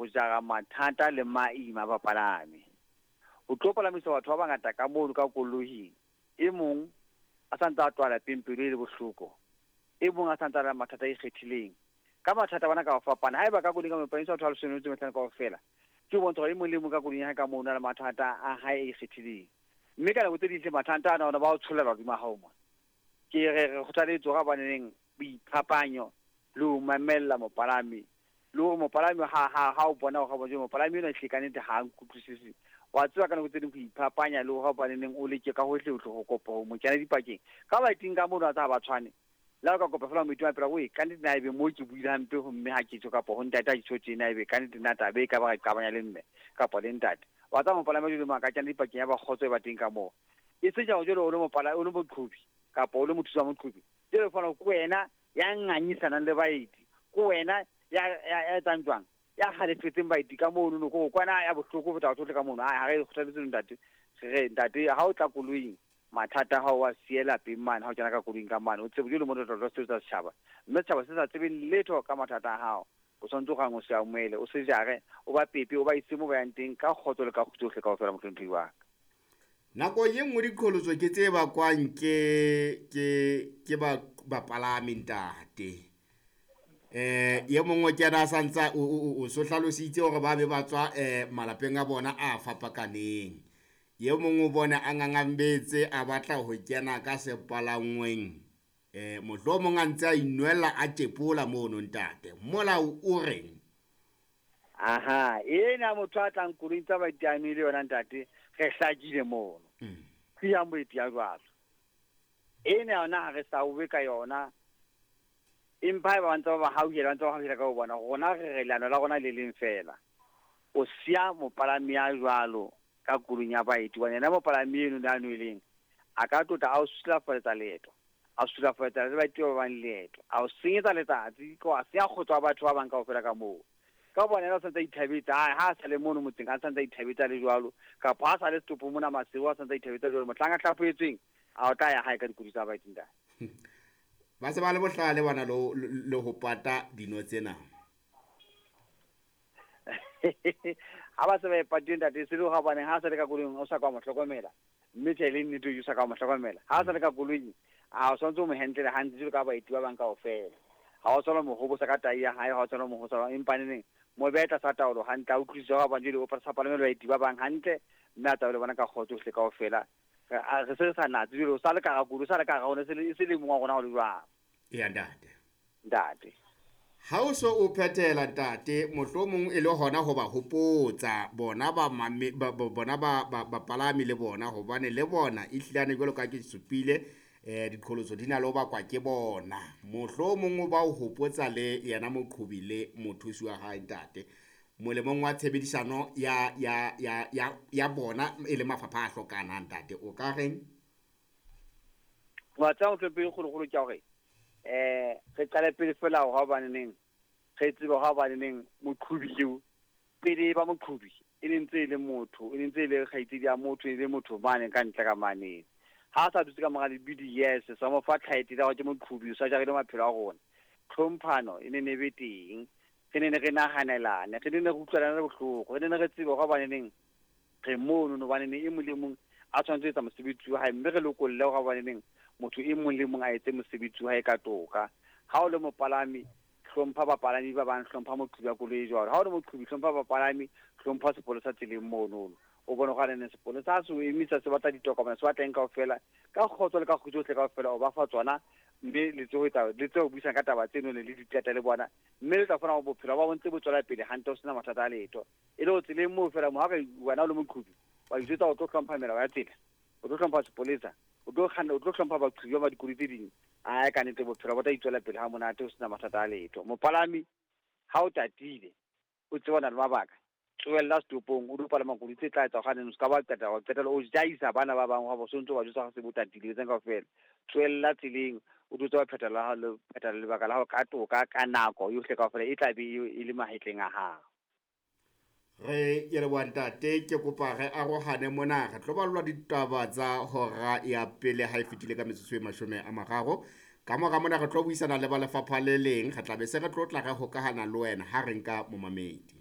Ho jara mathata le maima a bapalami. O tlo palamisa batho ba bangata ka mono ka koloing. E mong a sa ntse a tloha lapeng pelo e le bohloko. E mong a sa ntse a na le mathata a ikgethileng. Ka mathata bana ka ho fapana. Haeba ka koloing ka mo palamisa batho ba leshome le metso e mehlano kaofela, ke ho bontsha hore e mong le e mong ka koloing ya hae ka moo o na le mathata a hae a ikgethileng. Mme ka nako tse ding hle mathata ana ona ba o tshollela hodima hao mona. Ke re re kgothaletse hore hobaneneng boiphapanyo le ho mamella mopalami le hore mopalami ha o bona hore jwale mopalami enwa ehlile ka nnete ha a nkutlwisise. Wa tseba ka nako tse ding ho iphapanya le hore hobaneneng o leke ka hohle hohle ho kopa ho mo kena dipakeng. Ka baeting ka mono wa tseba ha ba tshwane. Le ha o ka kopa feela moeti wa pela oe ka nnete na ebe mo ke buile hampe ho mme ha ke tjho kapa ho ntate ha ke tjho tjena ebe ka nnete na taba e ka ba ra iqabanya le mme kapa le ntate. Wa tseba mopalami jwale mo a ka kena dipakeng ya ba kgotso e ba teng ka moo. E seng jwale o le mopala o le moqhobi kapa o le mothusi wa moqhobi. Jwale o fumana hore ke wena ya ngangisanang le baeti, ke wena ya ya ya etsang jwang, ya halefetseng baeti ka mono no, ko kwana ya bohloko ho feta batho bohle ka mono. Ha re kgothaletse ntate, re re ntate ha o tla koloing mathata a hao wa siye lapeng mane, ha o kena ka koloing ka mane o tsebe jwale mo tlo sebetsa setjhaba, mme setjhaba se sa tsebeng letho ka mathata a hao. O tshwanetse o gang o se amohele, o se jare, o ba pepe, o ba ise mo ba yang teng ka kgotso le ka kgutso yohle kaofela, mohlomphehi wa ka. Nako ye nngwe diqholotso ke tse bakwang ke ke ke ba bapalami ntate. Ye mongwe ke yena a sa ntsa o so hlalositse hore ba be ba tswa malapeng a bona a fapakaneng. Ye mongwe o bone a ngangambetse a batla ho kena ka sepalangweng. Mohlomong a ntse a inwella a tjepola mono ntate. Molao o reng? Aha, ena motho a tlang koloing tsa baeti a nwele yona ntate, re hlakile mono. Siyang boeti ya jwalo. Ena yona ha re sa obe ka yona. Empa haeba ba ntse ba ba hauhela, ba ntse ba hauhela ka ho bona, rona re re leano la rona le leng feela. O siya mopalami ya jwalo ka koloing ya baeti, hobane yena mopalami eno a nweleng, a ka tlotla a o sulafaletsa leeto, a sulafaletsa le baeti ba bang leeto, a o senyetsa letsatsi, a senya kgotso wa batho ba bang kaofela ka moo. Ka bona yena o santse a ithabetse, ha a sa le mono motseng, a santse a ithabetse a le jwalo, kapa ha sa le setopo mona Maseru, a santse a ithabetse jwalo, mohlang a hlaphohetsweng, a o tla ya hae ka dikoloi tsa baeti ntate. Ba se ba le bohlale bana le ho pata dino tsena. Ha ba se ba e patile ntate, se le hore hobaneng ha a sa le ka koloing o sa ka wa mo hlokomela, mme tjhe le nnete o sa ka wa mo hlokomela. Ha a sa le ka koloing, a o tshwanetse o mo handle hantle jwalo ka baeti ba bang kaofela. Ha o tshwanela ho mo hobosa ka tai ya hae, ha o tshwanela ho mo hobosa, empa neneng mo behe tlasa taolo hantle, a utlwisise hore hobane jwale o sa palame le baeti ba bang hantle, mme a tsamaye le bona ka kgotso yohle kaofela. Re se re sa natse jwale, o sa le ka hara koloi, o sa le ka hara rona, e se le mong wa rona ho le jwalo. Eya ntate. Ntate. Ha o so o phethela ntate, mohlomong e le hona ho ba hopotsa bona ba bona ba bapalami le bona, hobane le bona ehlilane jwalo ka ke supile diqholotso di na le ho bakwa ke bona. Mohlomong o ba o hopotsa le yena moqhobi le mothusi wa hae ntate, molemong wa tshebedisano ya ya ya ya ya bona e le mafapha a hlokanang ntate, o ka reng? Wa tseba mohlomphehi kgolokgolo ke hore re qale pele fela hore hobaneneng re tsebe hore hobaneneng moqhobi eo pele ba moqhobi e ne ntse e le motho, e ne ntse e le kgaitsedi ya motho, e le motho mane ka ntle ka maneng. Ha a sa dutse ka mora lebidi, yes, sa mo fa title ya hore ke moqhobi, o sa jarile maphelo a rona. Tlhomphano e ne ne be teng, re ne ne re nahanelane, re ne ne re utlwelane bohloko, re ne ne re tsebe hore hobaneneng re mono, hobaneneng e mong le mong a tshwanetse ho etsa mosebetsi wa hae, mme re lokolle hore hobaneneng motho e mong le mong a etse mosebetsi wa hae ka toka. Ha o le mopalami, hlompha bapalami ba bang, hlompha moqhobi wa koloi jwalo. Ha o le moqhobi, hlompha bapalami, hlompha sepolesa tseleng mono. O bone hore nene sepolesa ha se o emisa, se batla ditokomane, se batla eng kaofela, ka kgotso le ka kgutso yohle kaofela o ba fa tsona, mme le tsebe ho etsa, le tsebe ho buisana ka taba tseno le di qeta le bona, mme le tla fumana hore bophelo ba bo ntse bo tswela pele hantle ho sena mathata a letho. E le hore tseleng moo feela mo ha ka wena o le moqhobi, wa ijwetsa o tlo hlompha melao ya tsela, o tlo hlompha sepolesa, o tlo kganna, o tlo hlompha baqhobi ba dikoloi tse ding. Ae, ka nnete bophelo bo tla itswela pele ha monate ho sena mathata a letho. Mopalami ha o tatile, o tseba o na le mabaka, tlohella setopong, o di palama koloi tse tla etsa hore o ska ba qeta, wa qetella o jaisa bana ba bang, wa bo so ntso ba jwetsa se bo tatile etseng kaofela. Tlohella tseleng, o tlo tseba phethela la hao, phethela lebaka la hao ka toka, ka nako yohle kaofela e tla be e le mahetleng a hao. Re ke leboha ntate, ke kopa re arohane mona, re tlo ballwa ditaba tsa hora ya pele ha e fetile ka metsotso e 30. Ka mora mona re tlo buisana le ba lefapha le leng, re tla be se re tlo tla re hokahana le wena ha re nka momamedi.